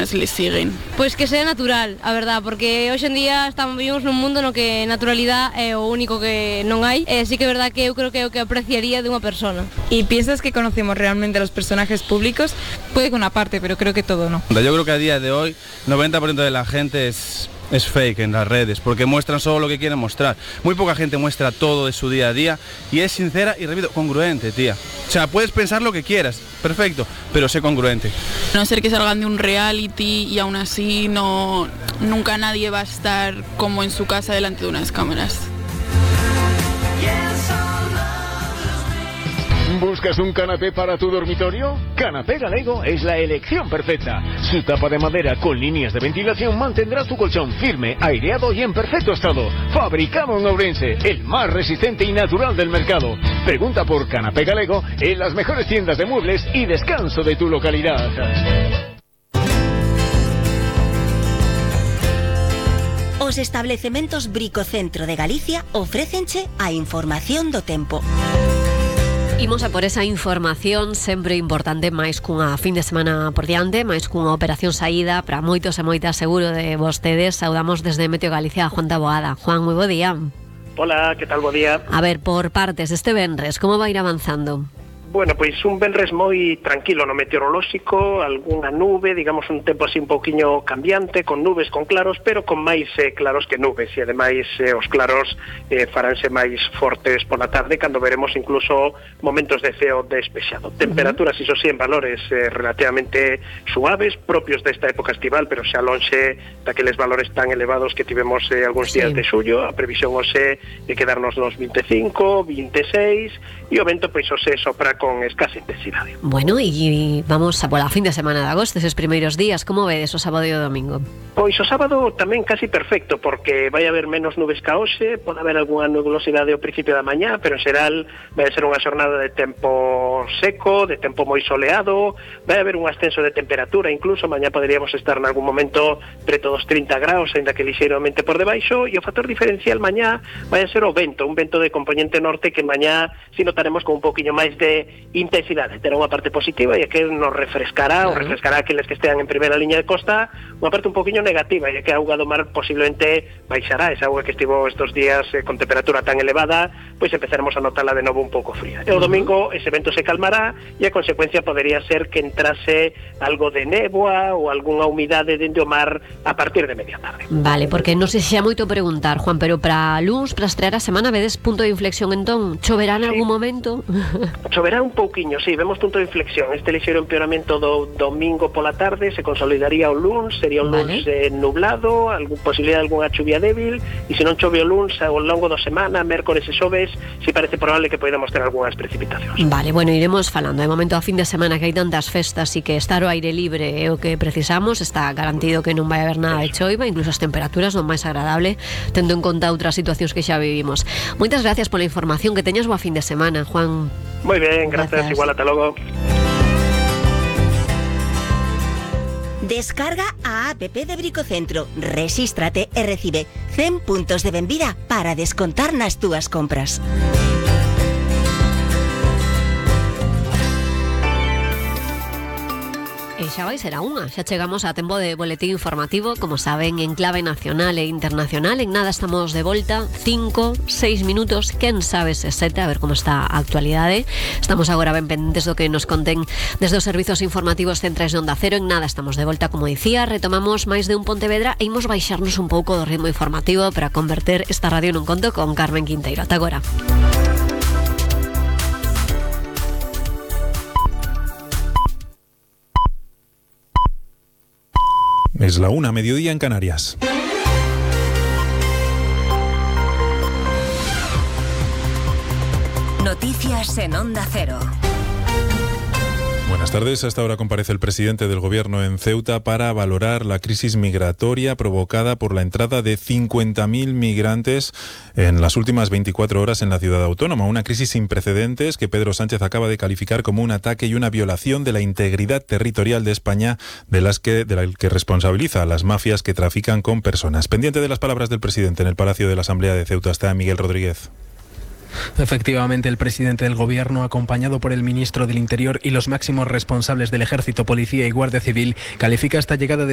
personas les siguen? Pois que sea natural, a verdad, porque hoxe en día vivimos nun mundo no que naturalidade é o único que non hai, e sí que é verdad que eu creo que é o que apreciaría de unha persona. ¿Y piensas que conocemos realmente a los personajes públicos? Puede que una parte, pero creo que todo no. Yo creo que a día de hoy 90% de la gente es fake en las redes, porque muestran solo lo que quieren mostrar. Muy poca gente muestra todo de su día a día y es sincera y, repito, congruente, tía. O sea, puedes pensar lo que quieras, perfecto, pero sé congruente. A no ser que salgan de un reality y aún así nunca nadie va a estar como en su casa delante de unas cámaras. ¿Buscas un canapé para tu dormitorio? Canapé Galego es la elección perfecta. Su tapa de madera con líneas de ventilación mantendrá tu colchón firme, aireado y en perfecto estado. Fabricado en Ourense, el más resistente y natural del mercado. Pregunta por Canapé Galego en las mejores tiendas de muebles y descanso de tu localidad. Os establecementos Bricocentro de Galicia ofrécenche a información do tempo. Imos a por esa información sempre importante, máis cunha fin de semana por diante, máis cunha operación saída para moitos e moitas seguro de vostedes. Saudamos desde Meteo Galicia a Juan Taboada. Juan, moi bo día. Hola, que tal, bo día. A ver, por partes, este venres, como vai ir avanzando? Bueno, pois un venres moi tranquilo no meteorolóxico, algunha nube, digamos un tempo así un pouquiño cambiante, con nubes, con claros, pero con máis claros que nubes, e ademais os claros faránse máis fortes pola tarde, cando veremos incluso momentos de ceo despexado. Temperaturas, iso sí, en valores relativamente suaves, propios desta época estival, pero xa lonxe daqueles valores tan elevados que tivemos algúns días de xullo. A previsión hoxe de quedarnos nos 25, 26, e o vento pois hoxe sopra con escasa intensidade. Bueno, e vamos a pola fin de semana de agosto, esos primeiros días, como vedes o sábado e o domingo? Pois o sábado tamén casi perfecto, porque vai haber menos nubes ca hoxe, pode haber algunha nubosidade ao principio da mañá, pero en xeral vai ser unha xornada de tempo seco, de tempo moi soleado, vai haber un ascenso de temperatura, incluso mañá poderíamos estar en algún momento preto dos 30 graus, ainda que lixeiramente por debaixo, e o factor diferencial mañá vai a ser o vento, un vento de componente norte que mañá si notaremos con un poquinho máis de intensidade. Terá unha parte positiva e que nos refrescará, ou refrescará aqueles que estean en primeira liña de costa, unha parte un poquinho negativa, e que a auga do mar posiblemente baixará, esa auga que estivo estes días con temperatura tan elevada, pois empezaremos a notarla de novo un pouco fría. E o domingo ese vento se calmará e a consecuencia podería ser que entrase algo de néboa ou algunha humidade dende o mar a partir de media tarde. Vale, porque non sei se xa moito preguntar, Juan, pero para luns, para estrear a semana, vedes punto de inflexión entón? Choverá en algún momento? Choverá un pouquiño, sí, vemos punto de inflexión. Este lixeiro empeoramento do domingo pola tarde se consolidaría o luns, sería un luns nublado, posibilidade de algunha chuvia débil, e se non chove o luns ao longo da semana, mércores e xoves, si parece probable que podamos ter algunhas precipitacións. Vale, bueno, iremos falando. De momento a fin de semana que hai tantas festas e que estar ao aire libre é o que precisamos, está garantido que non vai haber nada de choiva, incluso as temperaturas non máis agradable, tendo en conta outras situacións que xa vivimos. Moitas gracias pola información, que teñas boa fin de semana, Juan. Moi ben, gracias. Igual, ata logo. Descarga a app de Bricocentro, rexístrate e recibe 100 puntos de benvida para descontar nas túas compras. E xa vai ser a unha, xa chegamos a tempo de boletín informativo, como saben, en clave nacional e internacional. En nada estamos de volta, 5, 6 minutos, quen sabe se 7, a ver como está a actualidade. Estamos agora ben pendentes do que nos conten desde os servizos informativos centrais de Onda Cero. En nada estamos de volta, como dicía, retomamos máis de un Pontevedra e imos baixarnos un pouco do ritmo informativo para converter esta radio nun conto con Carmen Quinteiro. Ata agora. Es la 1, mediodía en Canarias. Noticias en Onda Cero. Buenas tardes. Hasta ahora comparece el presidente del Gobierno en Ceuta para valorar la crisis migratoria provocada por la entrada de 50.000 migrantes en las últimas 24 horas en la ciudad autónoma. Una crisis sin precedentes que Pedro Sánchez acaba de calificar como un ataque y una violación de la integridad territorial de España, de la que responsabiliza a las mafias que trafican con personas. Pendiente de las palabras del presidente en el Palacio de la Asamblea de Ceuta está Miguel Rodríguez. Efectivamente, el presidente del Gobierno, acompañado por el ministro del Interior y los máximos responsables del Ejército, Policía y Guardia Civil, califica esta llegada de